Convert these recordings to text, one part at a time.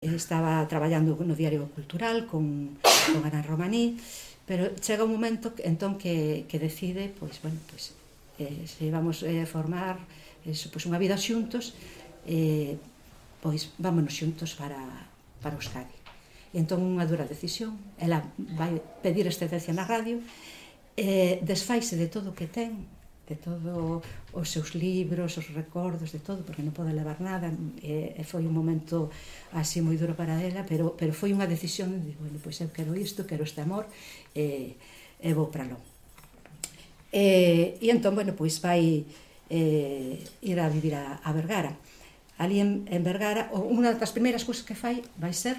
estaba traballando no Diario Cultural con Ana Romaní, pero chega un momento entón que decide se íbamos a formar unha vida xuntos, pois vámonos xuntos para Euskadi. E entón unha dura decisión, ela vai pedir excedencia na radio, desfaise de todo o que ten, de todos os seus libros, os recordos, de todo, porque non pode levar nada, e foi un momento así moi duro para ela, pero foi unha decisión de, bueno, pois eu quero isto, quero este amor, e vou para lo. E entón, bueno, pois vai ir a vivir a Vergara. Ali en Vergara, unha das primeiras cousas que fai vai ser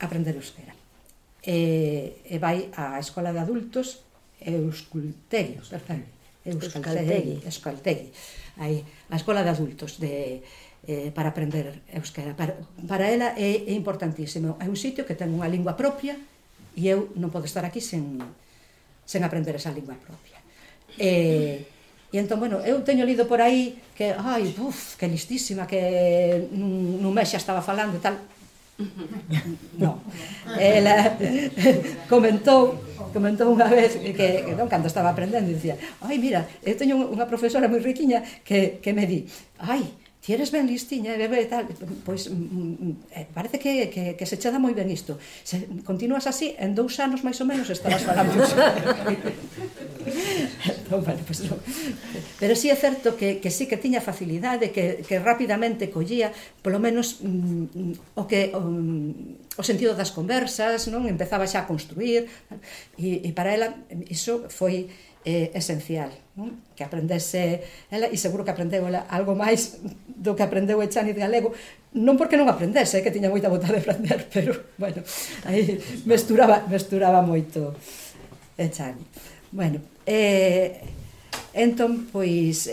aprender euskera. E vai á escola de adultos Euskaltegi, aí, a escola de adultos para aprender euskera. Para ela é importantísimo, é un sitio que ten unha lingua propia e eu non podo estar aquí sen aprender esa lingua propia. E entón, bueno, eu teño lido por aí que, que listísima, que nun mes xa estaba falando e tal. Non, ela comentou unha vez que cando estaba aprendendo, dicía, mira, eu teño unha profesora moi riquiña que me di, ti eres ben listiña, e tal, pois parece que se che dá moi ben isto, se continuas así, en 2 anos máis ou menos estarás falando. Pero sí é certo que sí que tiña facilidade, que rapidamente collía polo menos o sentido das conversas, non? Empezaba xa a construir, e para ela iso foi esencial, non? Que aprendese ela, e seguro que aprendeu ela algo máis do que aprendeu Echaniz galego, non porque non aprendese, que tiña moita vontade de aprender, pero, bueno, aí mesturaba moito Echaniz. Bueno, entón, pois,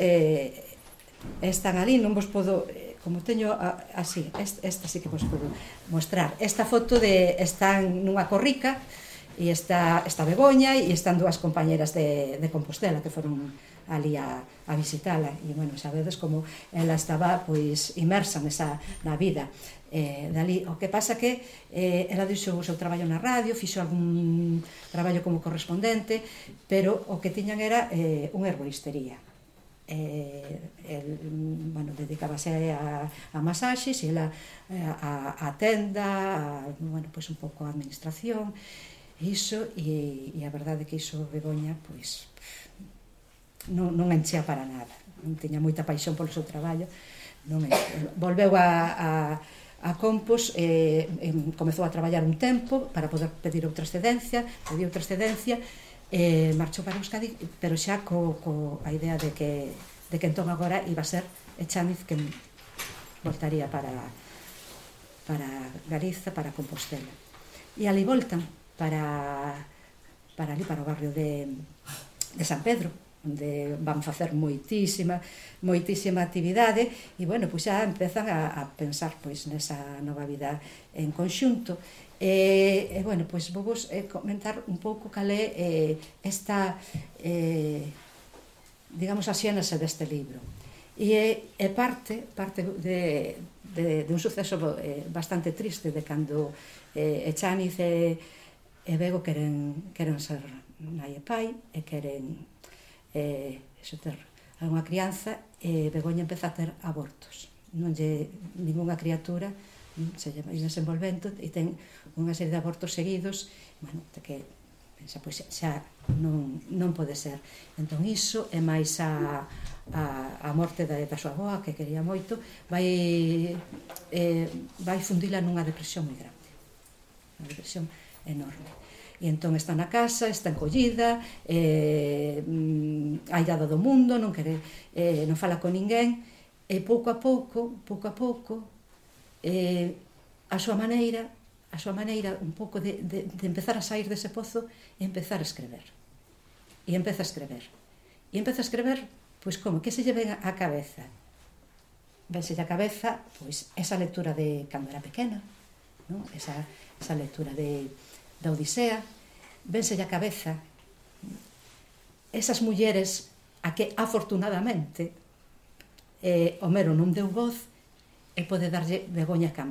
están ali, non vos podo, como teño así, esta sí que vos podo mostrar. Esta foto están nunha corrica, e está Begoña, e están 2 compañeras de Compostela que foron ali a visitala, e, bueno, sabedes como ela estaba, pois, inmersa na vida dali. O que pasa que ela dixo o seu traballo na radio, fixo algún traballo como correspondente, pero o que tiñan era unha herboristería. Bueno, dedicábase a masaxes, e ela a tenda, bueno, pois un pouco a administración, iso, e a verdade que iso Begoña, pois, non enchea para nada, non tiña moita paixón polo seu traballo, volveu a Compos, comezou a traballar un tempo para poder pedir outra excedencia, marchou para Euskadi, pero xa a idea de que entón agora iba a ser Echaniz que voltaría para Galiza, para Compostela. E ali voltan para o barrio de San Pedro, onde van facer moitísima actividade, e, bueno, pois xa empezan a pensar, pois, nesa nova vida en conxunto. E, bueno, pois vou vos comentar un pouco cal é esta, digamos, a xénese deste libro. E parte de un suceso bastante triste, de cando Echaniz e Bego queren ser nai e pai, e queren ter algunha crianza, e Begoña empeza a ter abortos. Non lle ninguna criatura se lle vai desenvolvendo, e ten unha serie de abortos seguidos, bueno, que pensa, pois xa non pode ser. Entón iso, e máis a morte da súa avoa, que quería moito, vai fundila nunha depresión moi grande, unha depresión enorme. E entón está na casa, está encollida, aillada do mundo, non fala con ninguén, e pouco a pouco, a súa maneira un pouco de empezar a sair dese pozo, e empezar a escrever. E empeza a escrever, pois como, que se lle ven á cabeza? Vense a cabeza, pois, esa lectura de cando era pequena, esa lectura da Odisea, vense a cabeza esas mulleres a que afortunadamente Homero non deu voz, e pode darlle vergoña á cámara.